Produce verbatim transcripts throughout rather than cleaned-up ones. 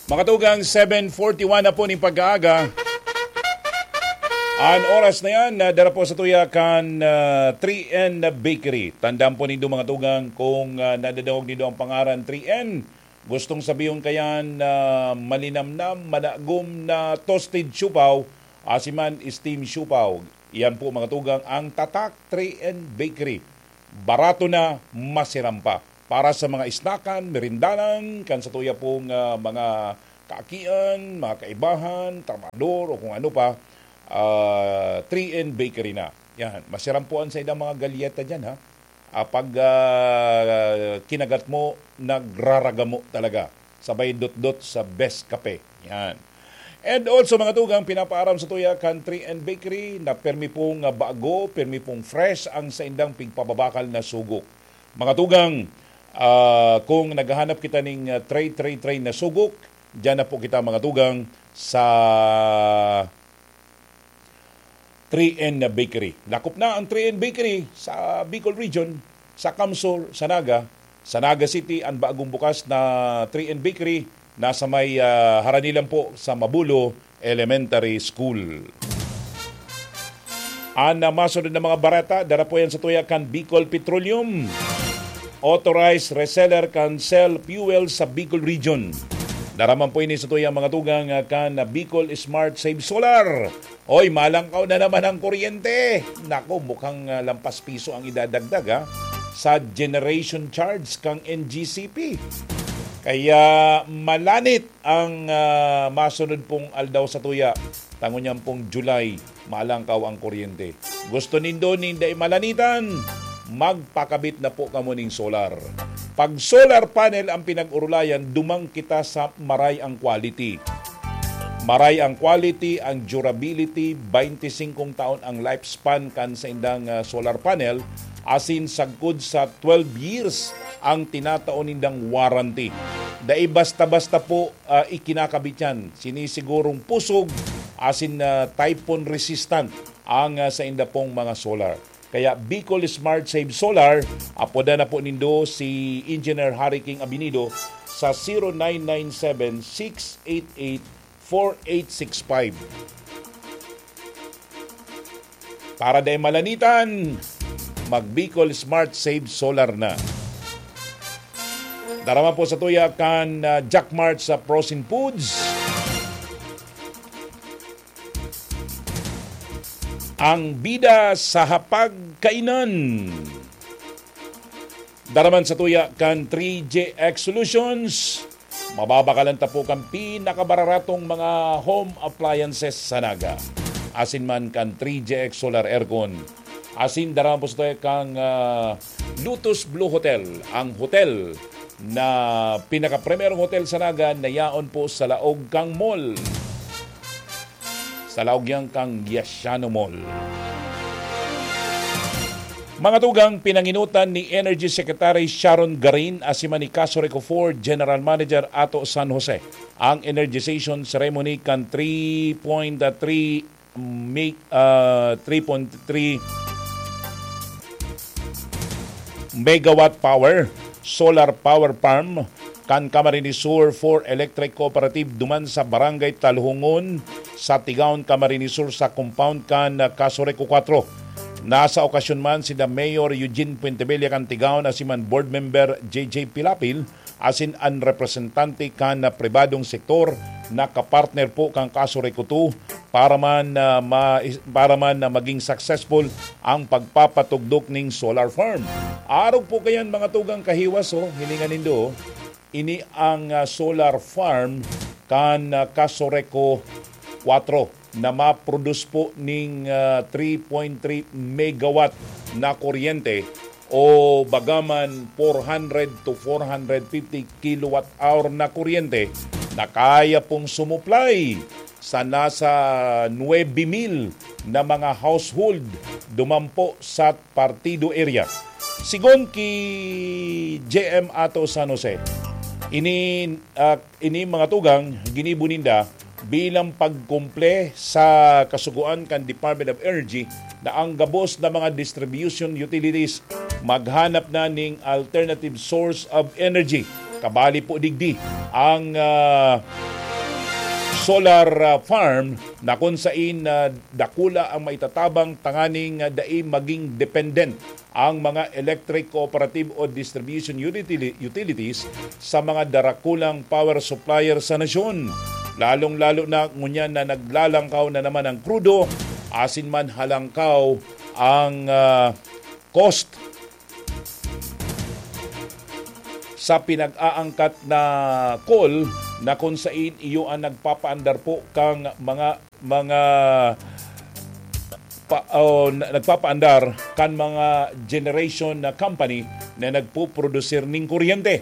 Mga tugang, seven forty-one na po ning pagkaaga. An oras na yan, na dara po sa tuya kan ah, three N Bakery. Tandaan po nindo, mga tugang, kung ah, nadadangog nindo ang pangaran three N, gustong sabihon kayan na malinamnam, madagom na toasted siopao, asiman steam siopao. Iyan po, mga tugang, ang Tatak three N Bakery. Barato na, masiram pa. Para sa mga isnakan, merindanan, kan sa tuya pong ah, mga kaakian, mga kaibahan, trabahador, o kung ano pa, ah, three N Bakery na. Yan, masiram po ang sa ilang mga galyeta dyan, ha? Ah, pag ah, kinagat mo, nagraragamo talaga. Sabay dot-dot sa best kape. Yan. And also, mga tugang, pinapaaram sa tuya kan three N Bakery na permi pong ah, bago, permi pong fresh ang saindang pigpababakal na sugok. Mga tugang, ah, kung naghahanap kita ning ah, tray, tray, tray na sugok, diyan na po kita, mga tugang, sa three N Bakery. Dakop na ang three N Bakery sa Bicol Region, sa Kamsur, sa Naga. Sa Naga City, ang bagong bukas na three N Bakery, nasa may ah, harani lang po sa Mabulo Elementary School. Ang ah, masunod na mga bareta, dara po yan sa tuya kan Bicol Petroleum. Authorized reseller kan Shell Fuel sa Bicol Region. Dara man po ini sa tuya, mga tugang, ah, kan ah, Bicol Smart Save Solar. Oy, malangkaw na naman ang kuryente. Nako, mukhang ah, lampas piso ang idadagdag, ha, sa generation charge kang N G C P. Kaya malanit ang ah, masunod pong aldaw sa tuya. Tango niyan pong July, malangkaw ang kuryente. Gusto nindo nin dai malanitan? Magpakabit na po kamo ning solar. Pag solar panel ang pinag-urulayan, dumang kita sa maray ang quality. Maray ang quality, ang durability, twenty-five taon ang lifespan kan saindang ah, solar panel, asin sagkod sa twelve years ang tinatao nindang warranty. Dai basta-basta po ah, ikinakabit yan. Sinisigurong pusog, asin na typhoon resistant ang ah, sainda pong mga solar. Kaya Bicol Smart Save Solar, apoda na po nindo si Engineer Harry King Abinido sa zero nine nine seven, six eight eight, four eight six five. Para dai malanitan, mag Bicol Smart Save Solar na. Dara man po sa tuya kan ah, Jack Mart sa Frozen Foods. Ang bida sa hapag kainan. Dara man sa tuya kan three J X Solutions. Mababakalan ta po kan pinakabararatong mga home appliances sa Naga. Asin man kan three J X Solar Aircon. Asin dara man po sa tuya kang ah, Lotus Blue Hotel, ang hotel na pinakaprimerong hotel sa Naga na yaon po sa laog kang mall. Sa laog yan kang Giasiano Mall. Mga tugang, pinanginutan ni Energy Secretary Sharon Garin asiman ni Casureco four General Manager Ato San Jose ang energization ceremony kan three point three mi-, ah, three point three megawatt power solar power farm kan Camarines Sur four Electric Cooperative duman sa Barangay Talhongon sa Tigaon, Camarines Sur, sa compound kan Casureco four. Nasa okasyon man sina Mayor Eugene Puentebella kan Tigaon asiman Board Member J J Pilapil asin an representante kan pribadong sektor na kapartner po kan Casureco two para man, ah, ma-, para man na maging successful ang pagpapatugdok ning solar farm. Arog po kayan, mga tugang kahiwas, oh, hilingan nindo, oh. Ini ang ah, solar farm kan ah, Casureco four na ma-produce po ning ah, three point three megawatt na kuryente o bagaman four hundred to four hundred fifty kilowatt hour na kuryente na kaya pong sumuplay sa nasa nuebe mil na mga household dumampo sa partido area. Sigon ki J M Ato San Jose, ini, ah, ini mga tugang ginibo ninda bilang pagkumple sa kasugoan kan Department of Energy na ang gabos na mga distribution utilities maghanap na ning alternative source of energy. Kabali po digdi ang, ah, solar, ah, farm na kun sain, ah, dakula ang maitatabang tanganing, ah, dai maging dependent ang mga electric cooperative o distribution utili-, utilities sa mga darakulang power supplier sa nasyon. Lalong-lalo na ngunyan na naglalangkaw na naman ang krudo, asin man halangkaw ang, ah, cost sa pinag-aangkat na coal na kun sain iyo ang nagpapaandar po kang mga, mga pa, o, na, nagpapaandar kan mga generation na company na nagpuprodusir ning kuryente.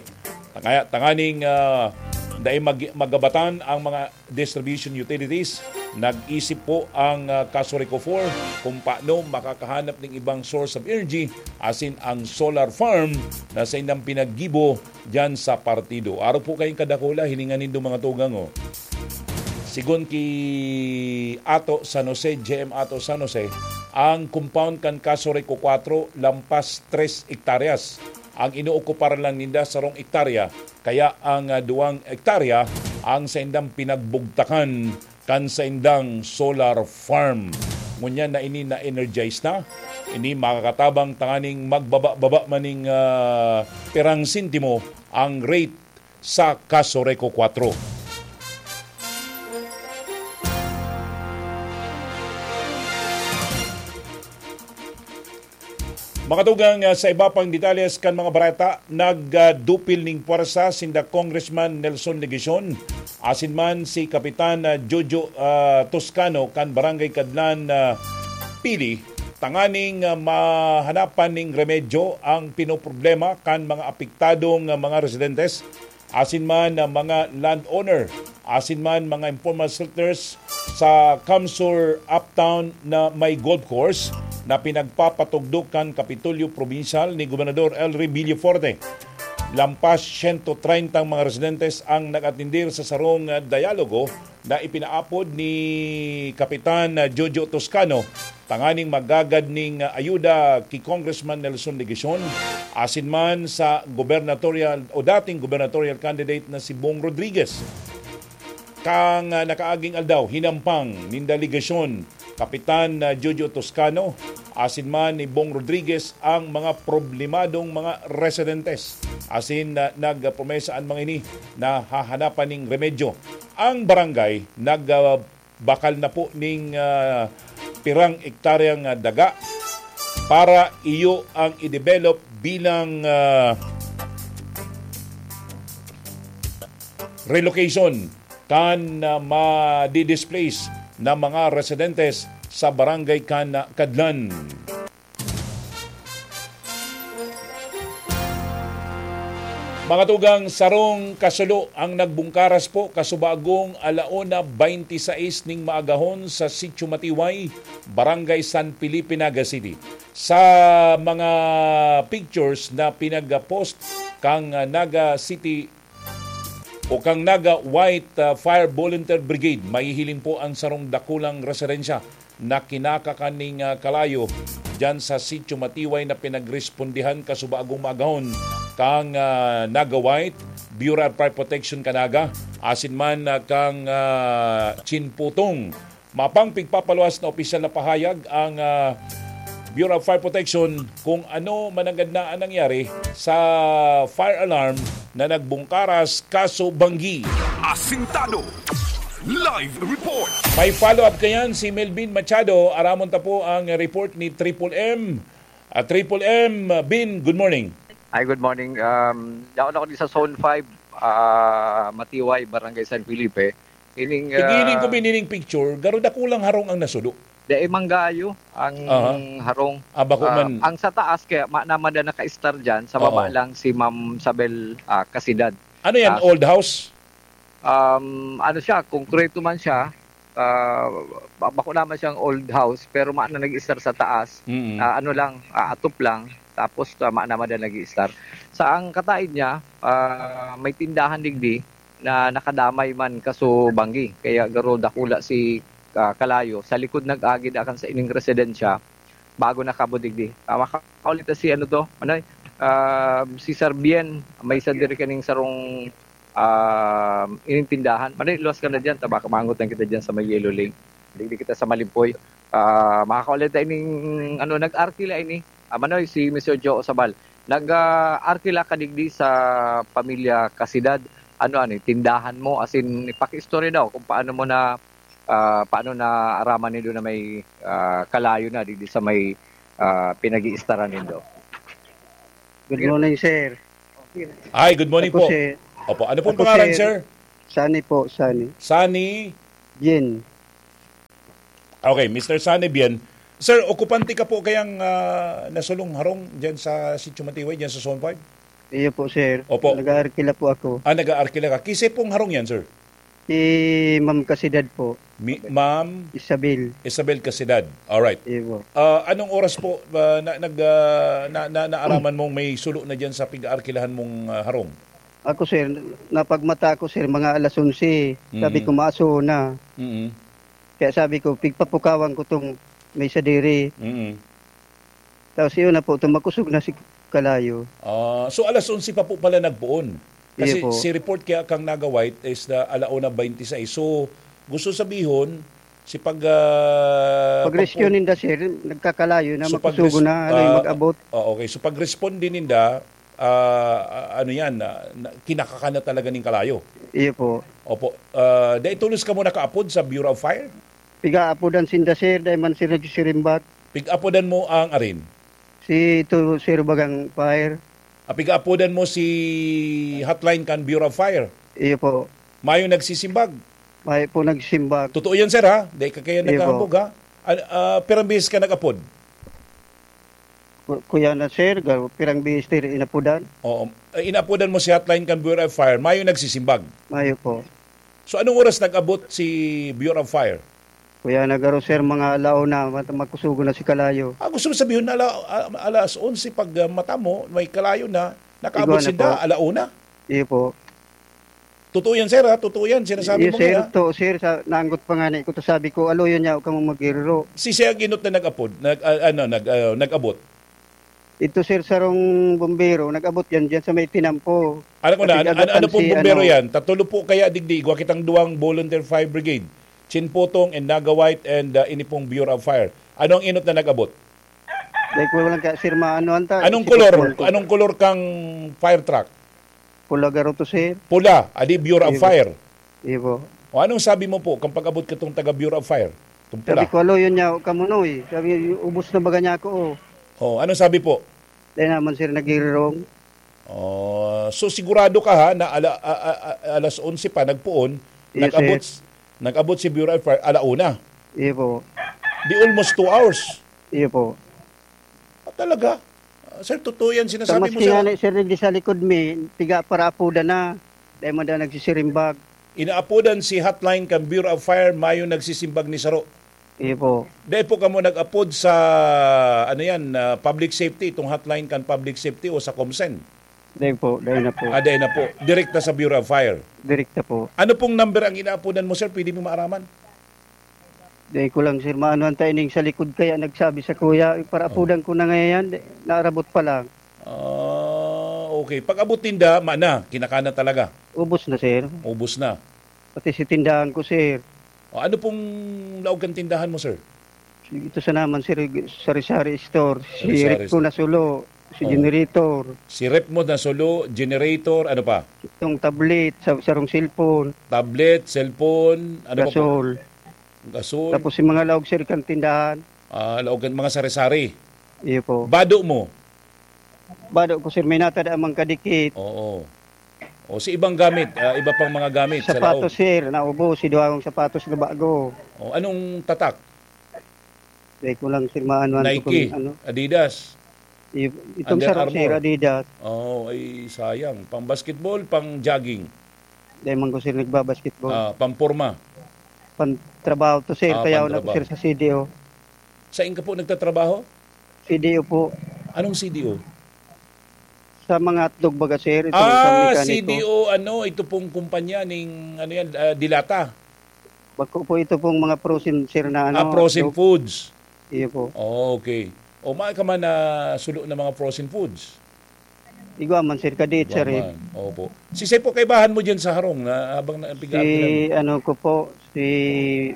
Kaya tanganing, ah, dai mag-, magabatan ang mga distribution utilities, nag-isip po ang, ah, Casureco four kung paano makakahanap ng ibang source of energy, asin ang solar farm na saindang pinaggibo diyan sa partido. Arog po kayong kadakula, hininga nindo, mga tugang, oh. Sigon ki Ato San Jose, J M Ato San Jose, ang compound kan Casureco four lampas tres hektaryas. Ang inookupar lang ninda sarong hektarya, kaya ang, ah, duwang hektarya ang saindang pinagbugtakan kan saindang solar farm. Ngunyan na ini na-energize na, ini makakatabang tanganing magbaba-baba maning, ah, pirang sentimo ang rate sa Casureco four. Mga tugang, ah, sa iba pang detalles kan mga bareta, nagdupil ning pwersa sinda Congressman Nelson Legacion asin man si Kapitan, ah, Jojo, ah, Toscano kan Barangay Kadlan, ah, Pili, tanganing, ah, mahanapan ning remedyo ang pinoproblema kan mga apektadong, ah, mga residentes asin man, ah, mga landowner, asin man mga informal settlers sa Kamsur Uptown na may golf course na pinagpapatugdok kan Kapitolyo Probinsyal ni Gobernador Elry Villafuerte. Lampas sento treinta mga residentes ang nag-atendir sa sarong, ah, dialogo na ipinaapod ni Kapitan, ah, Jojo Toscano tanganing maggagad ning, ah, ayuda ki Congressman Nelson Legacion asin man sa gubernatorial o dating gubernatorial candidate na si Bong Rodriguez. Kan, ah, nakaaging aldaw, hinampang nin delegasyon, Kapitan, ah, Jojo Toscano, asin man ni Bong Rodriguez ang mga problemadong mga residentes. Asin, ah, nagpromesa an mga ini na hahanapan ning remedyo. Ang barangay nag, ah, bakal na po ning, ah, pirang ektaryang, ah, daga para iyo ang i-develop bilang, ah, relocation kan, ah, madi-displace na mga residentes sa barangay kan, ah, Kadlan. Mga tugang, sarong kasulo ang nagbungkaras po kasubagong alauna twenty-sais ning maagahon sa Sitio Matiway, Barangay San Felipe, Naga City. Sa mga pictures na pinag-post kang, ah, Naga City o kang Naga White, ah, Fire Volunteer Brigade, mahihiling po ang sarong dakulang residensya na kinakakan ning, ah, kalayo diyan sa Sitio Matiway na pinagrespondihan kasubagong maagahon kang, ah, Naga White, Bureau of Fire Protection kan Naga, asin man, ah, kang, ah, Chinputong. Mapang pigpapaluwas na opisyal na pahayag ang, ah, Bureau of Fire Protection kung ano mananggad na ang nangyari sa fire alarm na nagbungkaras kaso banggi. Asintado. Live report. May follow-up kayan si Melvin Machado. Aramon ta po ang report ni Triple M. Ah, Triple M, Bin, good morning. Hi, good morning. Um, yaon ako di sa Zone five, ah, Matiway, Barangay San Felipe. Ining, Igiling ko ah, binining picture, garo dakulang harong ang nasudo. Dai manggayo ang Aha. harong. Ah, bako Ah, man. ang sa taas kaya ma-, naman na naka-star dyan, sa baba Oo. lang si Ma'am Sabel, ah, Casidad. Ano yan, Ah, old house? Um, ano siya, konkreto man siya, ah, ba-, bako naman siyang old house, pero ma-, na nag-star sa taas. Mm. Ah, ano lang, ah, atop lang, tapos, ah, ma-, naman na nag-star. Sa ang kataid niya, ah, may tindahan digdi, na nakadamay man kaso banggi. Kaya garo dakula si, ah, kalayo. Sa likod nag-agi daa kan sa ining residensya, bago nakabudigdi. Ah, makaulit na si ano to, ano, Ah, si Sir Bien, may isa diri kaning sarong, ah, ining tindahan. Mare, luwas ka na diyan, ta baka maangotan kita diyan sa may Yellow Lane. Digdi kita sa Malimpoy. Ah, makakaulay ta ining, ano, nag-arkila ini. Ah, Manoy, si Mister Joe Osabal. Nag, ah, arkila ka digdi sa pamilya Kasidad. Ano, ano, tindahan mo, as in, ipakiistorya daw kung paano mo na, ah, paano naaraman nindo na may, ah, kalayo na digdi sa may, ah, pinag-iistaran nindo. Good morning, sir. Hi, good morning Ako po. si Opo, ano pong Ako pangalan, si sir? Sunny po, Sunny. Sunny? Bien. Okay, Mister Sunny Bien. Sir, okupante ka po kayang, ah, nasulong harong diyan sa Sitio Matiway, diyan sa Zone five? Iyo po, sir. Opo. Nag-aarkila po ako. Ah, nag-aarkila ka. Kisay pong harong yan, sir? Si Ma'am Kasidad po. Mi-, Ma'am Isabel. Isabel Casidad. Alright. Iyo po. Ah, anong oras po, ah, na, nag, ah, na, na, naaraman mong may sulo na diyan sa pig-aarkilahan mong, ah, harong? Ako, sir, napagmata ko, sir, mga alas onse. Sabi Mm. ko, "Maaso na." Mm. Kaya sabi ko, "Pigpapukawan ko tong may sadiri." Mm. Tapos yun na po, tumakusog na si Kalayo. Ah, so alas onse pa po pala nagpoon. Kasi Iyo po. si report kaya kang Naga White is the ala una twenty-six. So, gusto sabihon, si pag, ah, Pag-rescue pagpo-, ninda, sir, nagkakalayo na, so, pag-res-, makusugo na, ano yung ah, mag-abot. Ah, okay. So, pag-respond din ninda, ah, ah, ano yan, ah, na, kinakaka na talaga ning kalayo? Iyo po. Opo. Ah, dai tolos kamo nakaapod sa Bureau of Fire? Piga-apodan sinda, sir, dai man sila nagsisirimbat. Pig-apodan mo ang arin? Si ito, sir, bagang fire. Ah, pig-apodan mo si hotline kan Bureau of Fire? Iyo po. Mayo nagsisimbag? Mayo po nagsisimbag. Totoo yan, sir, ha? Dai ka kaya Iyo po. naghahambog, ha? An-, ah, pirang bihis ka nag-apod? Ku-, kuya na, sir, ga-, pirang bihis, sir, inapodan? Oo. Eh, inapodan mo si hotline kan Bureau of Fire, mayo nagsisimbag? Mayo po. So, anong oras nag-abot si Bureau of Fire? Kuya na garo, sir, mga ala una, mat-, makusugo na si Kalayo. Ah, gusto mo sabihin na ala-, a-, alas onse pag, ah, mata mo, may Kalayo na, nakaabot Igwa na sinda, po. ala una? Iyo po. Totoo yan, sir, ha? Totoo yan, sinasabi Iyo, mo sir, ngayon, ha? to, sir, sa, naanggot pa nga na ito, sabi ko, "Alo yun niya, huwag kang magiriro." Si siya ang inot na nag-apod, nag-, ah, ano, nag-, ah, nag-abot? Ito, sir, sarong bombero, nag-abot yan dyan sa may tinampo. Alam ko na, ano, ano, Nagagatan ano pong si, bombero ano, yan? Tatulo po kaya digdi, igwa kitang duwang volunteer fire brigade. Chinpotong and Naga White and, uh, ini pong Bureau of Fire. Ano ang inot na nag-abot? Dahil ko lang ka, sir, maano anta, Anong si kolor? Paul ko. Anong kolor kang fire truck? Pula garo to, sir. Pula, adi Bureau of Iyo po. Fire. Iyo po. O, anong sabi mo po kang pag-abot katong taga Bureau of Fire? Itong pula. Sabi ko, "Alo, yun niya, kamunoy." Sabi, "Ubos na baga niya ako, oh." Oh, anong sabi po? Dahil naman, sir, naghirirong. Oh, so sigurado ka, ha, na ala-, a-, a-, a-, alas onse pa, nagpoon, Yes, nag-abot, sir. nag-abot si Bureau of Fire, ala una? Iyo po. Di almost two hours? Iyo po. Ah, talaga? Ah, sir, totoo yan Sa sinasabi mo, maski sir. nga na, sir, di sa likod mi, piga para apodan na. Dahil man daw nagsisirimbag. Inaapodan si hotline kan Bureau of Fire, mayo nagsisimbag ni saro. Iyo po. Dai po kamo nag-apod sa, ano yan, ah, public safety, itong hotline kan public safety o sa COMSEN? Dai po, dai na po. Ah, dai na po. Direkta sa Bureau of Fire? Direkta po. Ano pong number ang inaapodan mo, sir? Pwede mo maaraman? Dai ko lang, sir, maano ang timing sa likod kaya nagsabi sa kuya, "Para Oh. apodan ko na ngayon, di, naarabot pa lang." Ah, okay. Pag-abot ninda, mana, kinakana talaga? Ubos na, sir. Ubos na. Pati si tindahan ko, sir. O, ano pong laog kan tindahan mo, sir? Ito sa naman, sir, sari-sari store. Si Sari-sari Rico store. Nasulo, si Oh. Generator. Si Rep mo Nasulo, Generator, ano pa? Itong tablet, sa sarong cellphone. Tablet, cellphone, ano pa po? Gasol. Gasol. Tapos yung mga laog, sir, kan tindahan. Ah, laog kan mga sari-sari. Iyo po. Bado mo? Bado ko, sir, may natad amang kadikit. Oo. O, si ibang gamit, ah, iba pang mga gamit sa Sapatos, laog. sir, naubos. Si duwang sapatos na bago. O, anong tatak? Dai ko lang, sir, maano, ano Nike, kung ano. Adidas, I-, itong Under sarong, Armour. sir, Adidas. Oh, ay sayang. Pang basketball, pang jogging? Dai man ko, sir, nagbabasketball. Ah, pang porma? Pang trabaho to, sir. Ah, Kaya pang ako na, trabaho. sir, sa C D O. Saan ka po nagtatrabaho? C D O po. Anong C D O? Sa mga hotdog baga, sir, itong Ah, isang mekaniko. C D O, ano, ito pong kumpanya ning, ano yan, ah, Dilata? Bako po ito pong mga frozen, sir, na Ah, ano, frozen hotdog. foods. Iyo po. Oh, okay. O, maan ka man na sulo ng mga frozen foods? Igwa man, sir, kadit, sir, eh. Igwa man. Opo. Si Sir po, kaibahan mo dyan sa harong na habang na, Si, ano ko po, si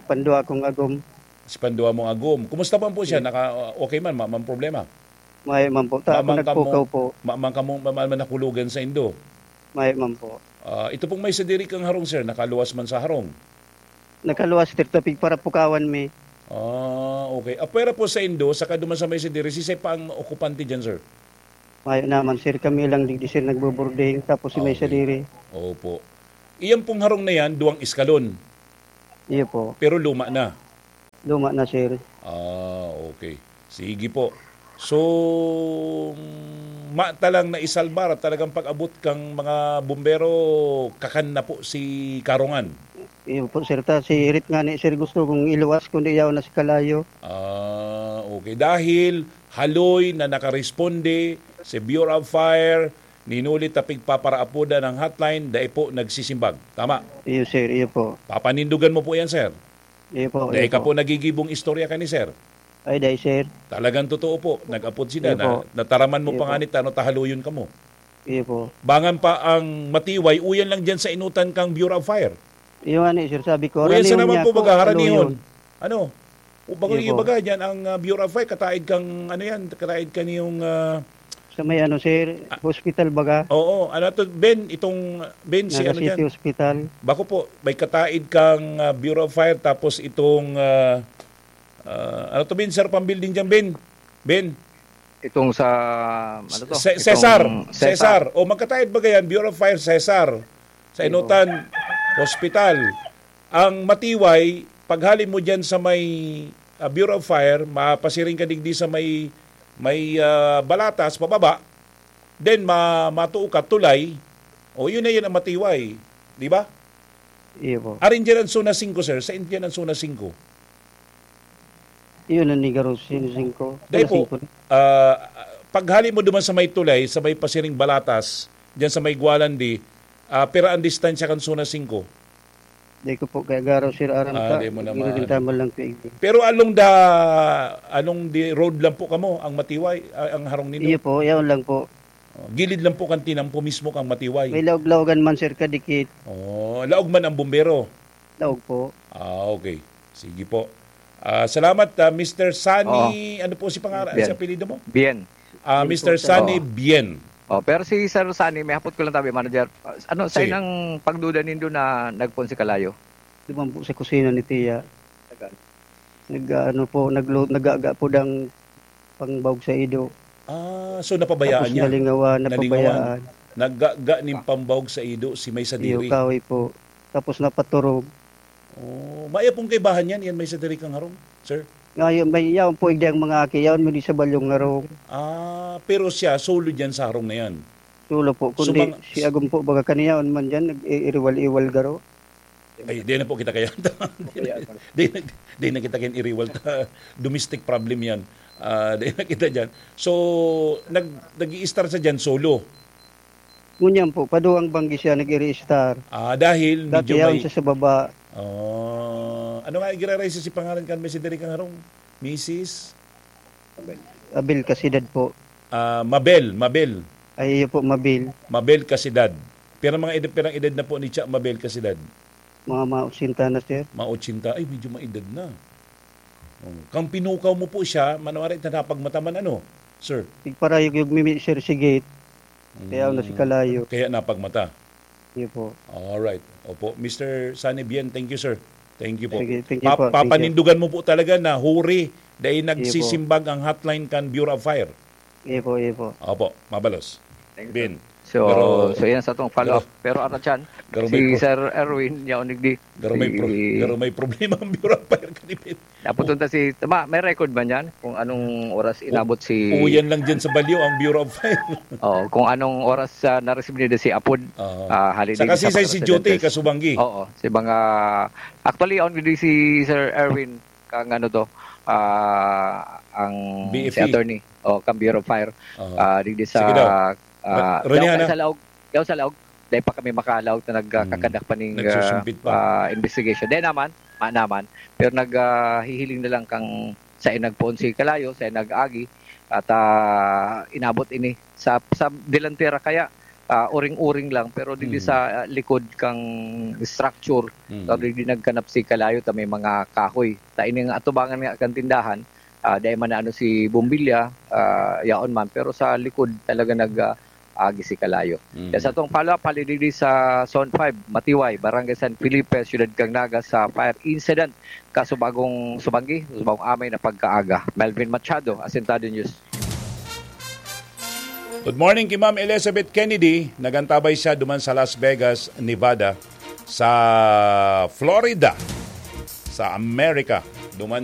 Pandua kong agom. Si Pandua mong agom. Kumusta man po siya? Yes. Naka, okay man, ma-, man problema? May man po. Ta, Mamang ako nagpukaw kamo, po. mamang kamo, mamang man nakulugan sa indo? May man po. Ah, ito pong may sadiri kang harong, sir, nakaluwas man sa harong? Nakaluwas, sir, tapig para pukawan mi. Ah, okay. Apwera po sa indo, saka duman sa may sadiri, sisay pa ang okupante dyan, sir? Mayo naman, sir. Kami lang digdi, sir, nagbuburding. Tapos si Ah, may okay. sadiri. Opo. Iyan pong harong na yan, duwang eskalon. Iyo po. Pero luma na. Luma na, sir. Ah, okay. Sige po. So, mata lang na isalbar at talagang pag-abot kang mga bumbero, kakan na po si Karongan. Iyo po, sir. Ta, si Rit nga ni, sir, gusto kong iluwas, kundi yaw na si Kalayo. Ah, okay. Dahil haloy na nakaresponde si Bureau of Fire, ninuli ta pigpaparaapodan ang hotline, dai po nagsisimbag. Tama? Iyo, sir. Iyo po. Papanindugan mo po yan, sir. Iyo po, Dai iyo ka po. po nagigibong istorya ka ni sir. Ay, dai, sir. Talagang totoo po. Nag-apod sila Iyo na po. nataraman mo Iyo pa po. nga ni ta, ano, tahaloyon ka mo. Iyo po. Bangan pa ang Matiway, uyan lang dyan sa inutan kang Bureau of Fire. Iyo nga ni, sir, sabi ko, Uyan sa haraniyon naman niya po, ako, baga, haranihon. haluyon. Ano? O, bako Iyo yung po. ibaga dyan, ang, ah, Bureau of Fire, kataid kang, ano yan, kataid ka niyong, ah, Sa may ano, sir, Ah. hospital baga? Oo, ano to, Ben, itong, Ben, si Naga ano City dyan? Hospital. Bako po, may kataid kang, ah, Bureau of Fire, tapos itong, ah, ah, ano to, Ben, sir, pang building dyan, Ben? Ben? Itong sa, ano to? Ce-, Itong Cesar. Cesar. Cesar. O, magkataid baga yan, Bureau of Fire, Cesar. Sa Iyo. Inutan, hospital. Ang Matiway, paghali mo dyan sa may, ah, Bureau of Fire, mapasiring ka digdi sa may, may, ah, Balatas, pababa, then ma-, matuo ka, tulay. O, yun na yun ang Matiway. Di ba? Iyo po. Arin dyan ang Zona singko, sir. Saan dyan ang Zona singko? Iyon ang Negros, Zona singko. Dahil Zona po, singko. ah, paghali mo duman sa may tulay, sa may pasiring Balatas, dyan sa may Gualandi, ah, pira ang distansya kan Zona singko? Di ko po kaya garo, sir, aram Ah, ka. di mo na Ginagin maano. tama lang ko, eh. Pero along the, along the road lang po kamo, ang Matiway, ah, ang harong ninyo? Iyo po, yaon lang po. Oh, gilid lang po kan tinampo mismo kang Matiway. May laog-laogan man, sir, kadikit. Oh, laog man ang bumbero? Laog po. Ah, okay. Sige po. Ah, salamat, ah, Mister Sunny, Oo. ano po si pangalan, Bien. si apelyido mo? Bien. Ah, Bien Mister po, sir. Sunny Oo. Bien. Oh, pero si Sir Sunny, may hapot ko lang tabi, manager. Ah, ano, sa Sige. inang pagduda nindo na nagpon si Kalayo? Duman po sa kusina ni Tiya. Nag-ano po, naglu-, nagaga po dang pangbaog sa ido. Ah, so napabayaan Tapos niya? nalingawan, Nalingawan. napabayaan. Naggaga nin pambaog sa ido si may Iyo, sadiri. kahoy po. Tapos napaturog. Oh, maya pong kaibahan yan, yan may sadiri kang harong, sir? Ngayon, may yaon po, igdi ang mga aki, yaon mo di sa balyong harong. Ah, pero siya, solo dyan sa harong na yan? Solo po, So, kundi mga si Agum po, baga kaniyaon man dyan, nag-iiriwal-iwal garo. Ay, di na po kita kaya. Di na, di na, di na kita kaya iriwal ta. Domestic problem yan. Ah, di na kita dyan. So, nag, nag-i-start sa dyan solo? Ngunyan po, paduwang banggi siya nag-i-start. Ah, dahil Dati medyo yaon may siya sa baba. Ah, ano nga, igiraray sa si pangalan kan may si Derek ang harong? Misis? Abel Casidad po. Ah, Mabel, Mabel. Ay, iyo po, Mabel. Mabel Casidad. Pero mga edad, pirang edad na po ni Cha Mabel Casidad? Mga, mga ochenta na, sir. Mga ochenta, ay, medyo maedad na. Oh, kang pinukaw mo po siya, manwari na napagmata man, ano, sir? Igparayog-yog mi, sir, si gate. Kaya na si Mm. Kalayo. Kaya napagmata. Iyo po. Alright. Opo. Mister Sunny Bien, thank you, sir. Thank you po. Sige, thank you Pa-, po. Thank you. papanindugan mo po talaga na huri, dahil Iyo po. nagsisimbag ang hotline kan Bureau of Fire. Iyo po, iyo po. Opo, mabalos. Thank you, Bin. sir. So, Pero, so yan sa atong follow-up. pero, Pero, Arachan, pero may si pro-, Sir Erwin, yaon digdi. pero may pro-, Si pero may problema ang Bureau of Fire kanipin. Naputunta si, tama, may record ba niyan kung anong oras inabot si Oo, yan lang dyan sa Balyo, ang Bureau of Fire. Oo, kung anong oras, ah, na-receive nila si Apod, Oo. ah, hali Saka din si, sa si, mga si Jote residentes. Kasubanggi. Oo, si mga, actually, on digdi si Sir Erwin, kang ano to, ah, ang B F E. si attorney, o, kang Bureau of Fire, Oo. ah, digdi sa, Sige daw. ah, Ra-, Rene, daw Hana. sa laog, daw sa laog, dahil pa kami makalaog na nag-, Mm. kakadak pa ning, Nagsusumpit pa. ah, ah, investigation. Dahil naman, ma naman, pero nag, ah, hihiling na lang kang sa nagpoon si Kalayo, sa nag-agi, At ah, inabot ini sa, sa delantera kaya ah, uring-uring lang, pero dili sa ah, likod kang structure, or dili nagkanap si kalayo ta may mga kahoy. Ta ini nga atubangan nga kan tindahan, ah, dai man ano si bombilya, ah, yaon man, pero sa likod talaga nag ah, agi si kalayo. Kaya sa atong follow-up, hali digdi sa Zone five, Matiway, Barangay San Felipe, Siyudad kang Naga, sa fire incident, kasubagong subanggi, subagong amay na pagkaaga. Melvin Machado, Asintado News. Good morning ki Ma'am Elizabeth Kennedy. Nagantabay siya duman sa Las Vegas, Nevada, sa Florida, sa Amerika. Duman